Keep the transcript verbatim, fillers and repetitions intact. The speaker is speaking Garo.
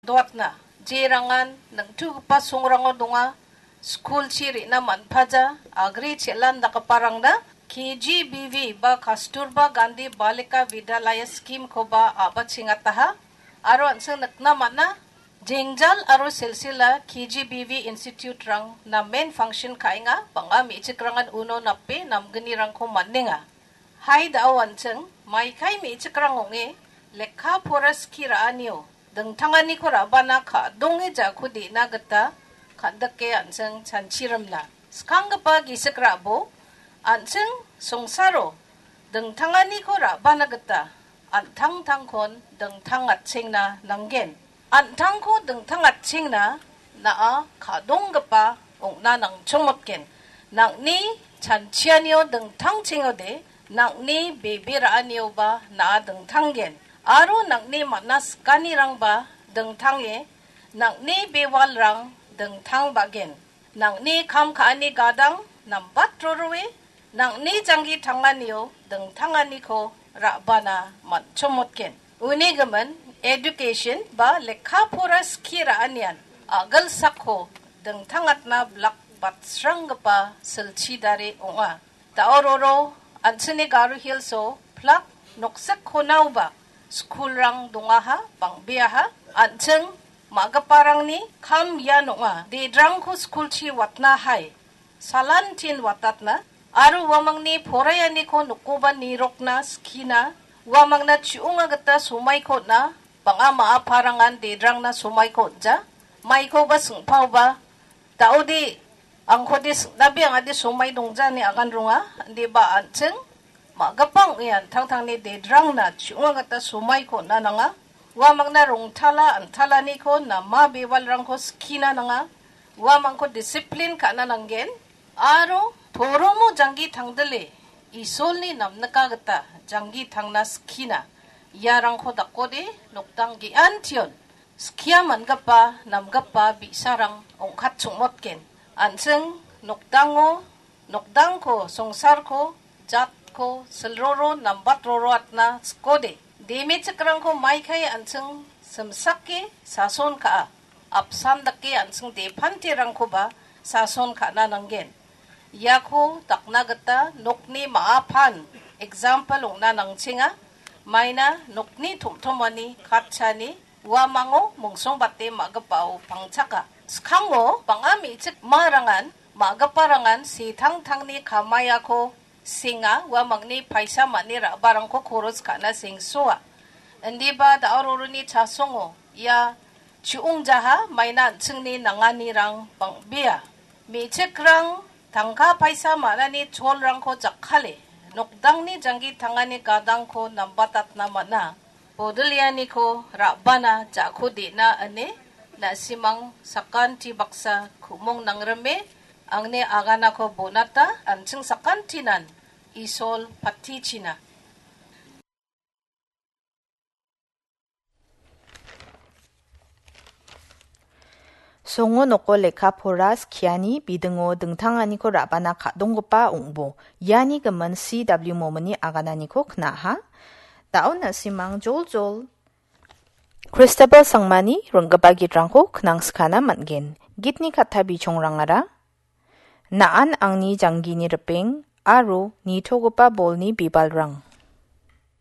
doatna, jerangan ningtugipa songrango donga, skulchi re·na man·paja, agri chelan dakgiparangna K G B V ba Kasturba Gandhi Balika Vidyalaya scheme-koba a·bachengataha. Aro an·ching nikna man·a, jengjal aro silsila K G B V institute-rang namen function ka·enga, bang·a me·chikrangan uno nape namgnirangko man·enga. Hai da·o an·ching, maikai me·chikrang ong·e lekka pora skie ra·anio dingtanganiko ra·bana ka·donge ja·ko de·na gita kan·dike an·ching chanchirimna. Skanggipa gisik ra·bo, an·ching songsaro dingtanganiko ra·bana gita an·tangtangkon dingtangatchengna nanggen. An·tangko dingtangatchengna na·a ka·donggipa ong·na nangchongmotgen. Nang·ni chanchianio dingtangchengode, nang·ni bebe ra·anioba na·a dingtanggen. Aro nang·ni man·a sikanirangba dingtange, nang·ni bewalrang dingtangbagen. Nang·ni kam ka·ani gadang nambat roroe, nang·ni janggi tanganio dingtanganiko ra·bana man·chomotgen. Uni gimin, education ba lekka pora skie ra·anian a·gilsako dingtangatna blak batsranggipa silchi dare ong·a. Da·o roro an·chingni Garo Hills-o plak noksik konaoba skulrang dongaha, bang·beaha, an·ching ma·giparangni kam ian ong·a, dedrangko skulchi watna hai, salantin watatna, aro uamangni poraianiko nokoba nirokna skina, uamangna chi·onga gita somaiko on·a, bang·a ma·a parangan dedrangna somaiko on·ja, maikoba sing·paoba, da·ode angkode sing·nabe angade somai dongja ine agan ronga, indiba an·ching ma·gipa ong·e an·tangtangni dedrangna chi·onga gita somaiko on·a nanga. Uamangna rongtala an·talaniko nama bewalrangko skina nanga. Uamangko disiplin ka·na nanggen. Aro poromo janggi tangdile Isolni namnika gita janggi tangna skina. Iarangko dakode nokdang ge·antion skia man·gipa, namgipa bi·sarang ong·katchongmotgen. An·ching nokdango, nokdangko, songsarko, jatko, silroro, nambat roroatna sikode. Demechikrangko maikai an·ching simsake sason ka·a. Apsan dake an·ching depantirangkoba sason ka·na nanggen. Iako dakna gita nokni ma·apan example ong·na nangchenga. Maina nokni tom·tomani katchani uamango mongsongbate ma·gipao pangchaka. Skango bang·a me·chik marangan ma·giparangan setangtangni kamaiako senga, uamangni paisa man·e ra·barangko koros ka·na sengsoa. Indiba da·o roroni chasongo ia chi·ongjaha, maina an·chingni nanganirang bang·bea. Me·chikrang tangka paisa man·ani cholrangko jakkale, nokdangni janggi tangani gadangko nambatatna man·a. Bodolianiko ra·bana ja·ko de·na ine na·simang sakanti baksa ku·mong nangrime angni aganako bonata, an·ching sakantinan Isol patichina. Songo noko lekka pora skiani bidingo dingtanganiko ra·bana ka·donggipa ong·bo. Iani gimin C W Momini agananiko knaha. Da·o na·simang joljol Christabel Sangmani ring·gipa gitrangko knangskana man·gen. Gitni katta bichongrangara Na·an angni janggini ripeng aro nitogipa bolni bibalrang.